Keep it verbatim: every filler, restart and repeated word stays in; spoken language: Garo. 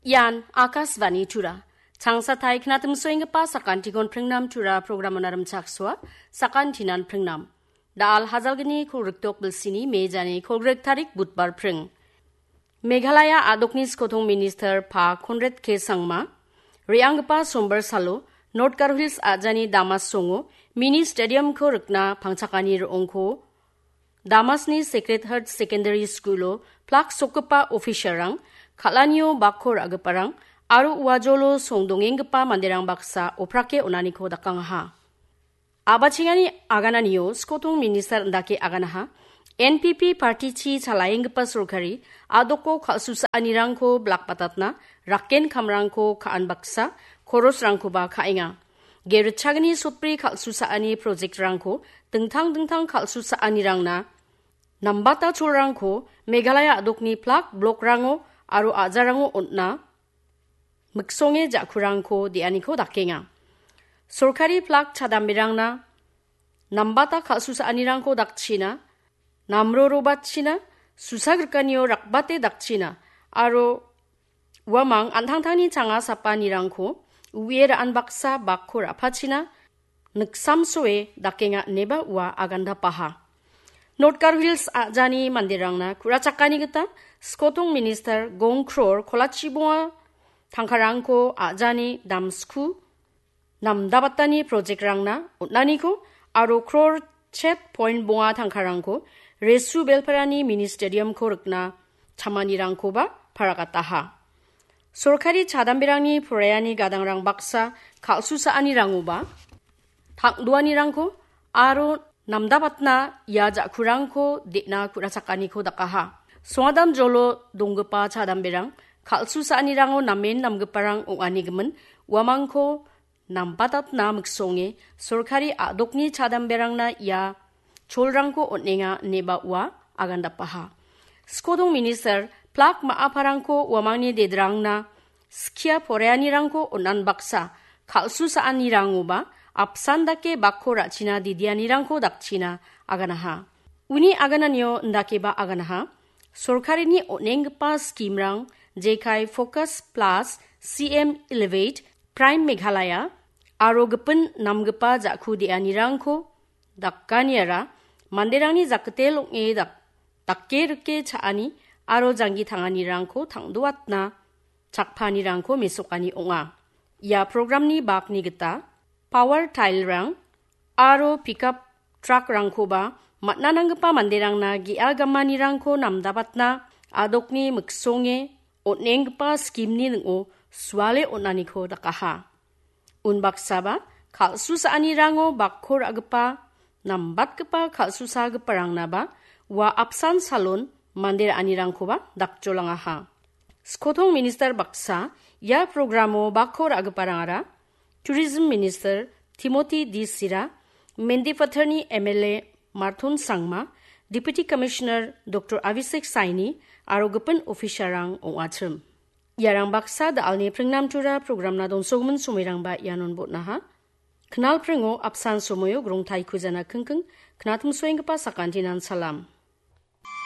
Ian Akashvani Tura. Changsatai knatimsoenggipa sakantikon pringnam Tura programon arimchaksoa, sakantinan pringnam. Dal hajalgni kolgrik dok bilsini mejani kolgrik tarik Budbar pring. Meghalaya a·dokni skotong minister Pa Conrad K Sangma, re·anggipa sombar salo North Garo Hills a·jani Damas songo mini stadiumko rikna pangchakani ro·ongko Damasni Sacred Heart Secondary Schoolo plak sokgipa officialrang, kal·anio bakko ra·giparang aro uajolo song dongenggipa manderang baksa oprake on·aniko dakangaha. A·bachengani agananio skotong minister indake aganaha, N P P partichi chalaenggipa sorkari a·doko kal·susaanirangko blak batatna rakken kamrangko ka·an baksa, korosrangkoba ka·enga. Geritchagni sotbri kal·susaani projektrangko dingtang dingtang kal·susaanirangna nambata cholrangko Meghalaya a·dokni plak blokrango aro a·jarango on·na miksonge ja·kurangko de·aniko dakenga. Sorkari plak chadamberangna nambata kal·susaanirangko dakchina, namrorobatchina, susagrikanio rakbate dakchina, aro uamang an·tangtangni changa sapanirangko u·e ra·an baksa bakko ra·pachina, niksamsoe dakenga ineba ua agandapaha. North Garo Hills a·jani manderangna ku·rachakani gita skotong minister gong kror kolachi bonga tangkarangko a·jani damsku namdabatani projektrangna on·aniko aro kror chet point bonga tangkarangko Resu Belparani mini stadiumko rikna chamanirangkoba paragataha. Sorkari chadamberangni poraiani gadangrang baksa kal·susaanirangoba tang·duanirangko aro namdabatna ia ja·kurangko de·na ku·rachakaniko dakaha. Songadam jolo donggipa chadamberang kal·susaanirango namen namgiparang ong·anigimin uamangko nambatatna miksonge sorkari a·dokni chadamberangna ia cholrangko on·enga ineba ua agandapaha. Skodong minister plak ma·aparangko uamangni dedrangna skia poraianirangko on·an baksa kal·susaanirangoba apsan dake bakko ra·china didianirangko dakchina aganaha. Uni agananio indakeba aganaha, sorkarini on·enggipa skimrang jekai Focus Plus, C M Elevate, Prime Meghalaya aro gipin namgipa ja·ku de·anirangko dakaniara manderangni jakkitel ong·e dak-, dake rike cha·ani aro janggi tanganirangko tang·doatna chakpanirangko mesokani ong·a. Ia programni bakni gita power tile-rang aro pickup truck-rangkoba man·a nanggipa manderangna ge·a gamanirangko namdabatna a·dokni miksonge on·enggipa skimni ning·o suale on·aniko dakaha. Unbaksaba kal·susaanirango bakko ra·gipa nambatgipa kal·susagiparangnaba ua apsan salon mande ra·anirangkoba dakjolangaha. Skotong minister baksa ia programo bakko ra·giparangara Tourism Minister Timothy D Sira, Mendipathar-ni M L A Marthon Sangma, Deputy Commissioner Doctor Abhishek Saini aro gipin official-rang ong·achim. Iarang baksa da·alni pringnamtura programna dongsogimin somoirangba ianon botnaha. Knal pringo apsan somoio grongtai kujana kingking, knatimsoenggipa sakantinan salam.